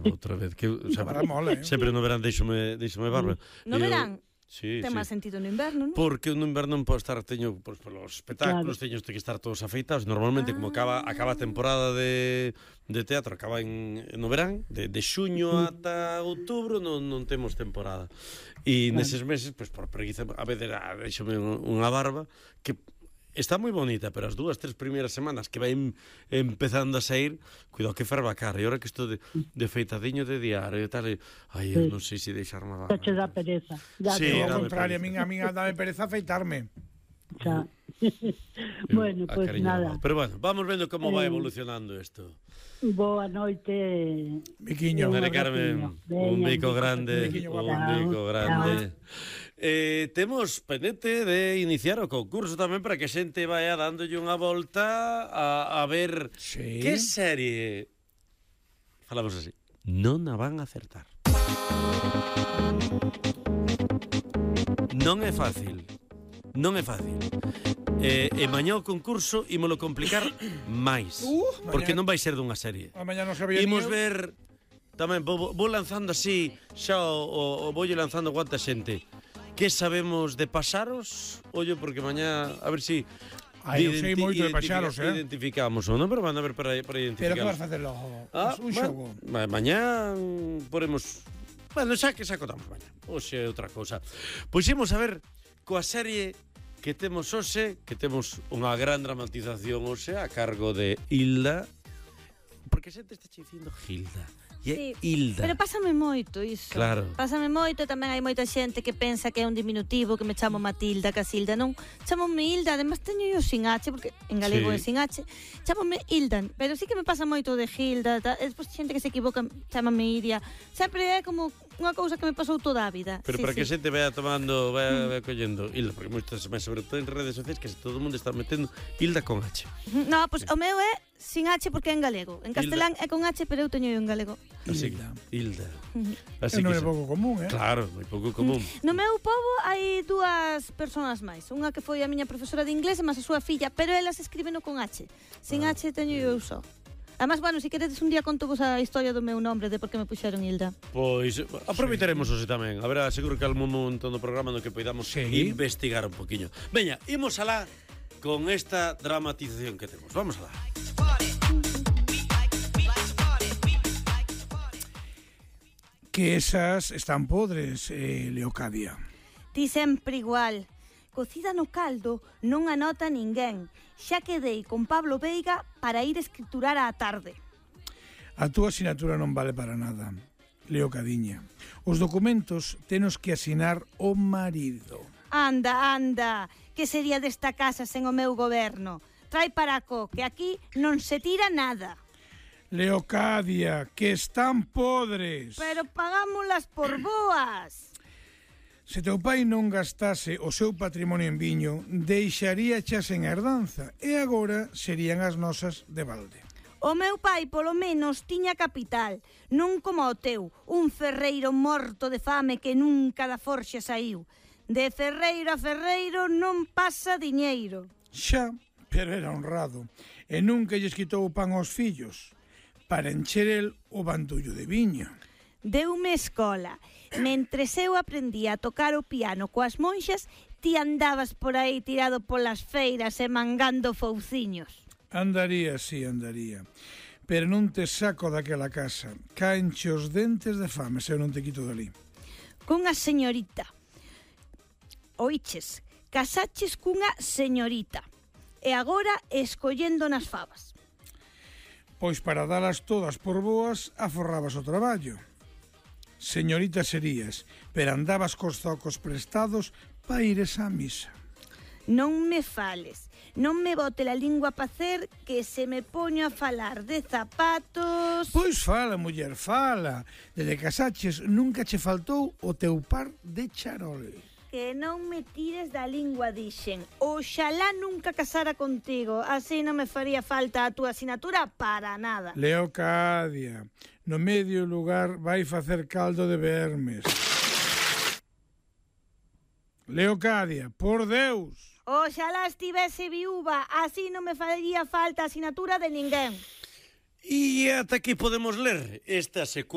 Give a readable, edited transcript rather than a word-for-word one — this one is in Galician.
barba outra vez. Que, sempre no verán deixome barba. No verán? Sí, ten máis sentido no inverno, non? Porque no inverno non podo estar, teño polos espectáculos, teño que estar todos afeitados. Normalmente, como acaba a temporada de teatro, acaba no verán, de xuño ata outubro non temos temporada. E neses meses, por preguiza, a veces deixome unha barba que está moi bonita, pero as 2-3 primeiras semanas que vai empezando a sair, cuidado que ferva a cara. E ahora que estou de feitadiño de diario e tal, eu non sei se deixarme a barba. Xa che dá pereza. Sí, ao contrario, a min dame pereza afeitarme. Xa. Bueno, pues nada. Pero bueno, vamos vendo como vai evolucionando isto. Boa noite. Biquiño. Mare Carmen, un bico grande. Un bico grande. Temos pendente de iniciar o concurso tamén para que a xente vaya dándolle unha volta a ver que serie, falamos así, non a van a acertar. Non é fácil. E mañá o concurso ímolo complicar máis, porque non vai ser dunha serie. Mañá non sabía. Imos ver tamén, vou lanzando así xa o voulle lanzando cuanta xente. Que sabemos de paxaros? Ollo, porque mañá, a ver si eu sei moito de paxaros, identificamos o non, pero van a ver para identificar. Pero que vas facer logo? Un xogo. Mañá poremos... Bueno, xa que contamos mañá. Oxe, outra cousa. Pois imos a ver coa serie que temos hoxe, que temos unha gran dramatización hoxe a cargo de Hilda. Porque a xente está dicindo Hilda. Sí, Hilda. Pero pásame moito iso. Claro. Pásame moito, tamén hai moita xente que pensa que é un diminutivo, que me chamo Matilda, Casilda, non. Chámome Hilda, además teño eu sin H, porque en galego é sin H. Chámome Hilda, pero sí que me pasa moito de Hilda, despois xente que se equivoca, chámame Iria. Sempre é como unha cousa que me pasou toda a vida. Pero para que a xente vaya tomando, vaya collendo Hilda, porque moitas máis, sobre todo en redes sociais, que todo o mundo está metendo Hilda con H. No, pois o meu é sin H porque é en galego. En castelán é con H, pero eu teño en galego. Así, Hilda. Así non é pouco común, Claro, moi pouco común. No meu pobo hai dúas persoas máis. Unha que foi a miña profesora de inglés e máis a súa filla, pero elas escríbeno con H. Sin H teño eu só. Además, bueno, se queredes un día conto vos a historia do meu nombre, de por que me puxeron Hilda. Pois aproveitaremos hoxe tamén. A ver, seguro que algún momento no programa no que poidamos investigar un poquinho. Veña, imos alá con esta dramatización que temos. Vamos alá. Que esas están podres, Leocadia. Ti sempre igual. Cocida no caldo non anota ninguén. Xa quedei con Pablo Veiga para ir escriturar á tarde. A túa asignatura non vale para nada, Leocadiña. Os documentos tenos que asinar o marido. Anda, que sería desta casa sen o meu goberno? Trai para co, que aquí non se tira nada. Leocadia, que están podres. Pero pagámolas por boas. Se teu pai non gastase o seu patrimonio en viño, deixaría chas en herdanza, e agora serían as nosas de balde. O meu pai, polo menos, tiña capital, non como o teu, un ferreiro morto de fame que nunca da forxa saiu. De ferreiro a ferreiro non pasa diñeiro. Xa, pero era honrado, e nunca lles quitou o pan aos fillos, para encher el o bandullo de viño. Deume escola. Mentres eu aprendía a tocar o piano coas monxas, ti andabas por aí tirado polas feiras e mangando fouciños. Andaría, sí, andaría. Pero non te saco daquela casa. Caenche os dentes de fame, se eu non te quito dali. Cunha señorita. Oiches, casaches cunha señorita. E agora escollendo nas favas. Pois para dalas todas por boas, aforrabas o traballo. Señorita serías, pero andabas cos zocos prestados pa ires á misa. Non me fales, non me bote la lingua a facer, que se me poño a falar de zapatos... Pois fala, muller, fala. Desde casaches nunca che faltou o teu par de charoles. Que non me tires da lingua, dixen. Oxalá nunca casara contigo, así non me faría falta a túa asignatura para nada. Leocadia, no medio lugar vai facer caldo de vermes. Leocadia, por Deus. Oxalá estivese viúva, así non me faría falta a asignatura de ninguén. E ata aquí podemos ler esta secuencia.